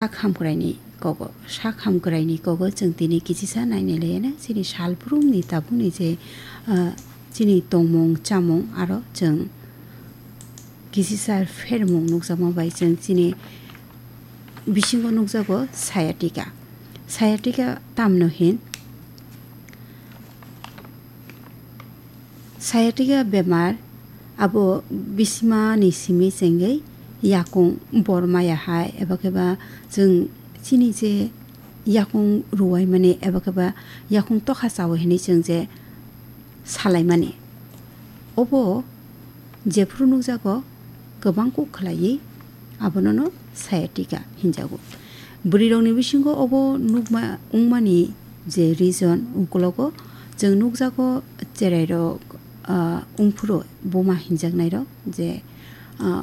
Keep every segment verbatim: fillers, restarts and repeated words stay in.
Sak hamkraini kogo, sak hamkraini kogo chwng tini kisisa nainai laiya na, chini salbrumni tabukni je, ah, chini tongmung chamung aro chwng kisisa phermung nukjakma bai chwng chini bisingo nukjago sciatica. Sciatica tamno hin? Sciatica bemar abo bisimani simi chengwi yakung bor maya hai, eba khe ba chwng chini je yakung ruwai mani eba khe ba yakung tokha chawi hinwi chwng je salaimani. Obo jephru nukjago kwbang kuk khlaiwi abonono sciatica hinjago. Bwrwirokni bisingo obo nukma wngmani je reason ukologo chwng nukjago cherairok, ah, wngphuru buma hinjaknairok je, ah,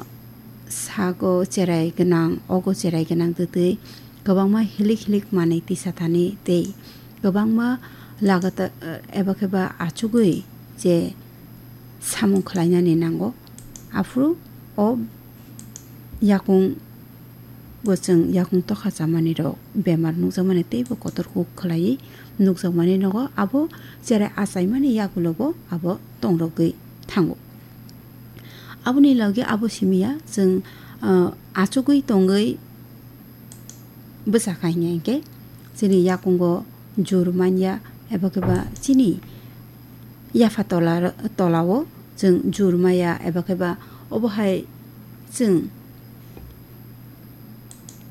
sago cherai gwnang, ogo cherai gwnang twtwi kwbangma hilik hilik manwi tisa thani tei kwbangma lagata, eh, eba khe ba achugwi je samung khlainani nango. Aphuru o yakung bo chwng yakung tokha chamani rok bemar nukjakmani teibo kotor kuk khlaiwi nukjakmani nogo abo cherai achaimani yagulobo abo tongrogwi thango. Aboni logi abo simiya chwng, ah, achugwi tongwi bwsa kha hinya hinkhe chini yakungo jur manya eba khe ba chini yapha tola, tolao chwng jur maya eba khe ba obo hai chwng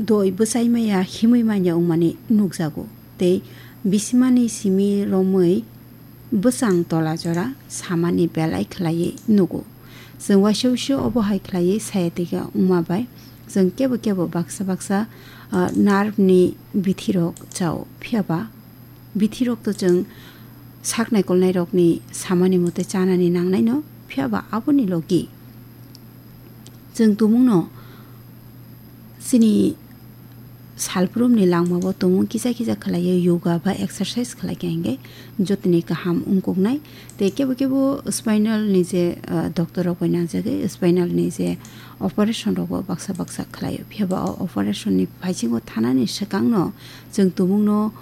doi bwchai maya himwi manya wngmani nukjago tei bisimani simi romwi bwchang tola jora samani belai khlaiwi nugo. Chwng waisa waisa obo hai khlaiwi sciatica wngma bai chwng kebo kebo baksa baksa, ah, nerve ni bithirok chao. Phiya ba bithirok to chwng sak naikolnairokni samani mote chanani nangnaino, phiya ba aboni logi chwng tumungno chini salbrumni langmao tumung kisa kisa khlaiwi yoga ba exercise khlai kha hinkhe jotoni kaham wngkuknai. Tei kebo kebo spinal ni je, ah, doctor rok bai nangjagwi spinal ni je operation rogo baksa baksa khlaio. Phiya ba o operation ni phaisingo thanani swkangno chwng tumungno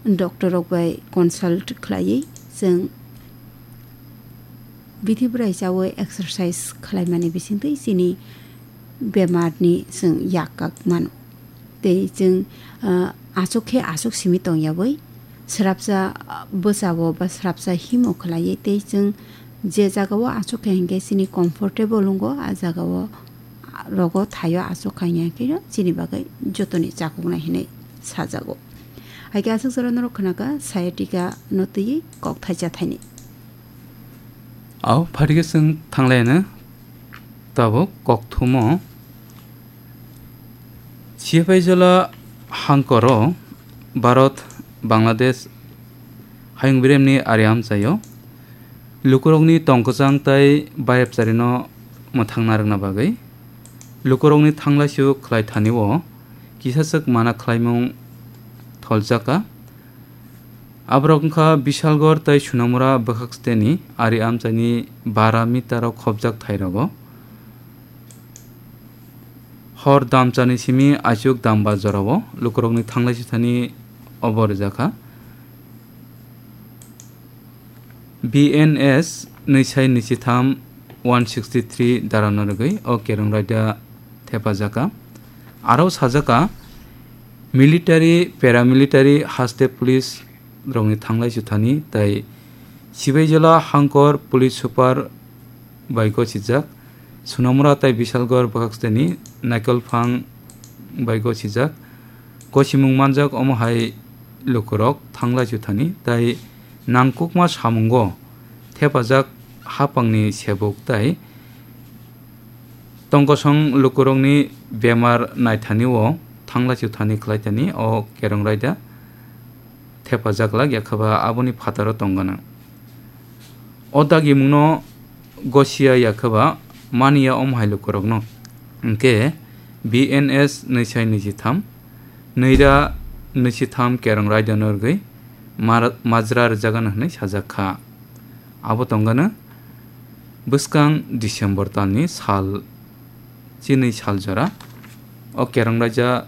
doctor rok bai consult khlaiwi chwng bithi bwrai chawi exercise khlaimani bisingtwi chini bemarni chwng yak kak mano. Tei chwng, ah, aswk khe aswk simi tongyawi, swrapsa, ah, bwsao ba swrapsa himo khlaiwi tei chwng je jagao aswk khe hinkhe chini comfortable wngo, a jagao, ah, rogo thaio aswk khaina khe chini bagwi jotoni chakuknai hinwi sajago. Hai khe aswk jora norok khnakha sciatica no twiwi kok thaisa thaini. Au, phaikhe chwng thanglaino tabuk kokthumo. Sipaijala hangkoro Bharat, Bangladesh hayung biremni ari amchaio lukurokni tongkwchang tai bayapcharino mwthangna rwkna bagwi lukurokni thanglaisu khlai thani o kisachwk mana khlaimung tholjakha. Aborok wngkha Bishalgarh tei Sonamura bwkhaksteni ari amchaini bara meter o khopjak thairogo. Hor damchani simi aichuk damba jorao lukurokni thanglai sithani obo rijakha. B N S nwi sai nwi chitham one sixty three darano rwgwi o kerong raida thepajakha. Aro sajakha military, paramilitary, haste police rokni thanglai suthani tei Sibaijala hangkor police super bai gosijak, Sonamura tei Bishalgarh bwkhaksteni naikolphang bai gosijak. Gosimung manjak omo hai lukurok thanglai suthani tei nangkukma samungo thepajak hapangni sebuk tei tongkosong lukurokni bemar naithani o thanglai suthani khlaitani o kerong raida thepajak lak ya khe ba aboni phataro tongganang. O dagimungno gosiya ya khe ba maniya omo hai lukurokno. Hinkhe B N S nwi sai nwi chitham, nwi ra nwi chitham kerong raidano rwgwi mar-, majra rwjagano hwnwi sajak kha. Abo tongganw bwskang December talni sal chinwi sal jora o kerong raida